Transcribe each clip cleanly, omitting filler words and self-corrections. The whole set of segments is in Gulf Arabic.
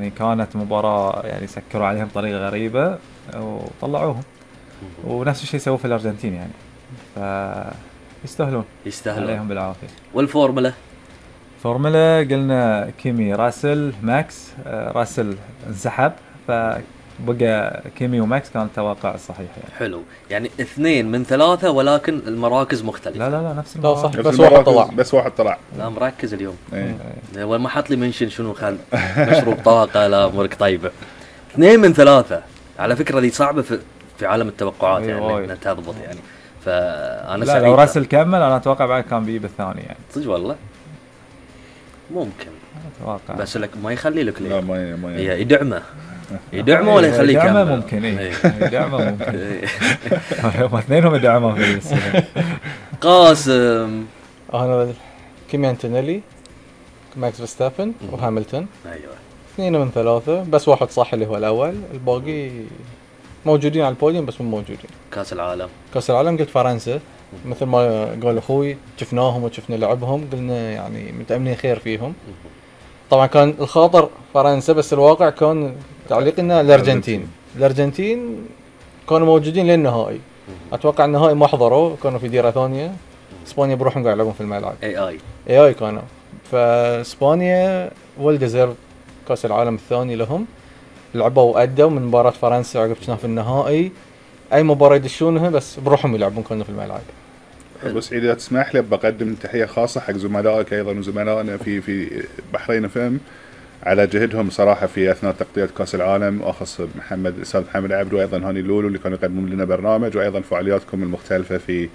يعني كانت مباراة يعني سكروا عليهم بطريقة غريبة وطلعوهم. ونفس الشيء سووا في الأرجنتين يعني، يستاهلون عليهم بالعافية. والفورمولا قلنا كيمي راسل ماكس. راسل انسحب فبقى كيمي وماكس، كان التوقع الصحيح يعني. حلو، يعني 2 من 3 ولكن المراكز مختلفة. لا نفس المراكز. صح، بس واحد طلع. لا مركز اليوم. وما حط لي منشن شنو خل مشروب طاقة. لا أمورك طيبة. 2 من 3 على فكرة دي صعبة في عالم التوقعات يعني انها تضبط يعني. فانا لا لو راسل كمل انا اتوقع بعد كان بيجيب الثاني يعني. صدق والله ممكن اتوقع، بس لك ما يخلي لك لا ما يدعمه ولا يخليه يكمل. ممكن يدعمه ممكن. هم اثنينهم يدعموا في السنة. قاسم انا كيمي أنتونيلي ماكس فيرستابن وهاملتون. ايوه 2 من 3 بس واحد صح اللي هو الاول، الباقي موجودين على البوديوم بس مو موجودين. كاس العالم قلت فرنسا مثل ما قال اخوي، شفناهم وشفنا لعبهم، قلنا يعني متأمنين خير فيهم. طبعا كان الخاطر فرنسا بس الواقع كان تعليقنا الارجنتين كانوا موجودين للنهائي. اتوقع النهائي ما حضروا، كانوا في ديرة ثانية. اسبانيا بروحهم قاعد يلعبون في الملعب اي كانوا. فاسبانيا والديزيرف كاس العالم الثاني لهم، لعبوا وأدوا من مباراة فرنسا عقب كنا في النهائي. أي مباراة يدشونها بس بروحهم يلعبون كنا في الملعب. بس إذا تسمح لي بقدم تحية خاصة حق زملائك أيضا وزملائنا في بحرين فم على جهدهم صراحة في أثناء تغطية كأس العالم، وأخص الأستاذ محمد عبدو وأيضا هاني لولو اللي كانوا يقدمون لنا برنامج، وأيضا فعالياتكم المختلفة في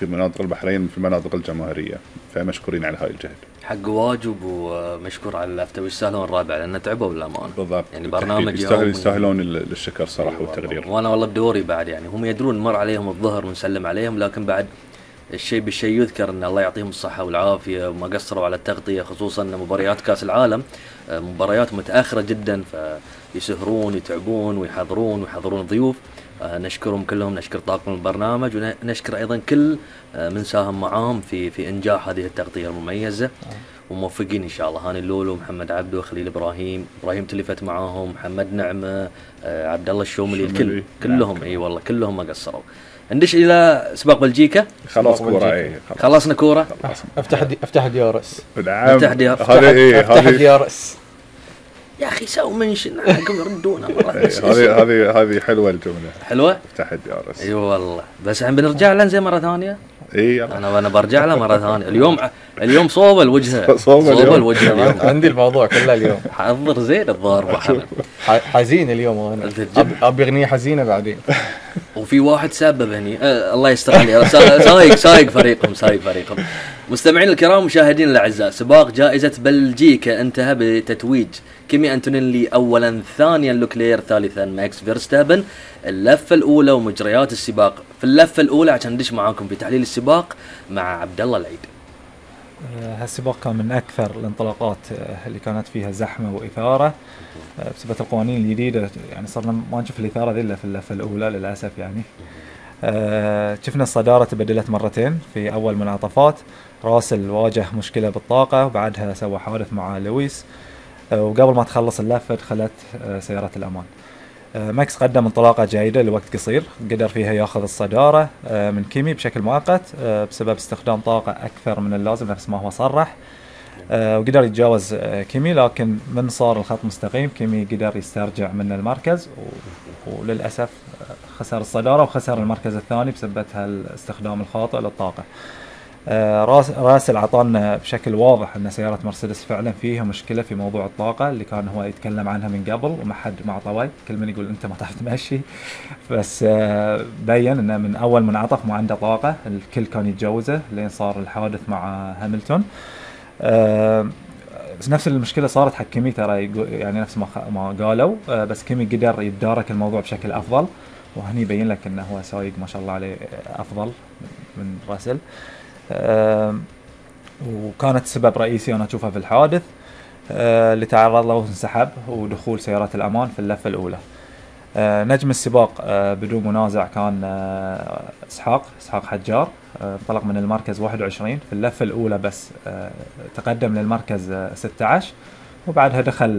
مناطق البحرين في المناطق الجماهيرية، فمشكورين على هاي الجهد. حق واجب ومشكور على اللفتة، ويستاهلون الرابع لأن تعبوا بالأمان. بالضبط يعني برنامج يستاهلون الشكر صراحة والتقدير. وأنا والله بدوري بعد يعني هم يدرون مر عليهم الظهر ونسلم عليهم، لكن بعد الشيء بالشيء يذكر ان الله يعطيهم الصحة والعافية وما قصروا على التغطية، خصوصا مباريات كاس العالم مباريات متأخرة جدا، فيسهرون يتعبون ويحضرون ضيوف. نشكرهم كلهم، نشكر طاقم البرنامج، ونشكر ايضا كل من ساهم معاهم في انجاح هذه التغطية المميزة. وموفقين ان شاء الله. هاني اللولو، محمد عبدو، خليل ابراهيم تلفت معاهم، محمد نعمة، عبد الله الشوملي، كلهم اي والله كلهم ما قصروا. ندش الى سباق بلجيكا. خلاص كورة خلصنا كورة. افتح ديارس. افتح ديارس يا اخي سووا منشن حقهم يردونا مرة. هذه حلوة الجملة، حلوة افتح ديارس. اي والله بس عم بنرجع لها زي مرة ثانية. انا برجع لها مرة ثانية. اليوم صوب الوجه. عندي الموضوع كله اليوم. حضر زين الضارب حزين اليوم، وانا ابي اغنية حزينة بعدين. وفي واحد سبب هني الله يستر عليه. سايق فريقهم. مستمعين الكرام مشاهدين الاعزاء، سباق جائزة بلجيكا انتهى بتتويج كيمي أنتونيلي اولا، ثانيا لوكلير، ثالثا ماكس فيرستابن. اللفة الاولى ومجريات السباق. في اللفة الاولى عشان ندش معاكم في تحليل السباق مع عبد الله العيد. هالسباق كان من اكثر الانطلاقات اللي كانت فيها زحمة واثارة بسبب القوانين الجديدة. يعني صرنا ما نشوف الاثارة ذي الا في اللفة الاولى للاسف يعني. شفنا الصدارة تبدلت مرتين في أول منعطفات. راسل واجه مشكلة بالطاقة وبعدها سوى حادث مع لويس، وقبل ما تخلص اللفة دخلت سيارة الأمان. ماكس قدم انطلاقة جيدة لوقت قصير، قدر فيها ياخذ الصدارة من كيمي بشكل مؤقت بسبب استخدام طاقة أكثر من اللازم نفس ما هو صرح، وقدر يتجاوز كيمي. لكن من صار الخط مستقيم كيمي قدر يسترجع من المركز، وللأسف خسر الصدارة وخسر المركز الثاني بسبب هالاستخدام الخاطئ للطاقة. راسل عطانا بشكل واضح أن سيارة مرسيدس فعلا فيها مشكلة في موضوع الطاقة اللي كان هو يتكلم عنها من قبل وما حد مع طوي. كل من يقول أنت ما تعرف تمشي، بس بين أنه من أول منعطف ما عنده طاقة، الكل كان يتجوزه لين صار الحادث مع هاملتون. نفس المشكلة صارت حق كيمي ترى، يعني نفس ما قالوا، بس كيمي قدر يتدارك الموضوع بشكل أفضل، وهني يبين لك أنه هو سايق ما شاء الله عليه أفضل من راسل. وكانت سبب رئيسي أنا أشوفها في الحادث اللي تعرض له وانسحب ودخول سيارات الأمان في اللفة الأولى. نجم السباق بدون منازع كان إسحاق حجار، انطلق من المركز 21 في اللفة الأولى، بس تقدم للمركز 16 وبعدها دخل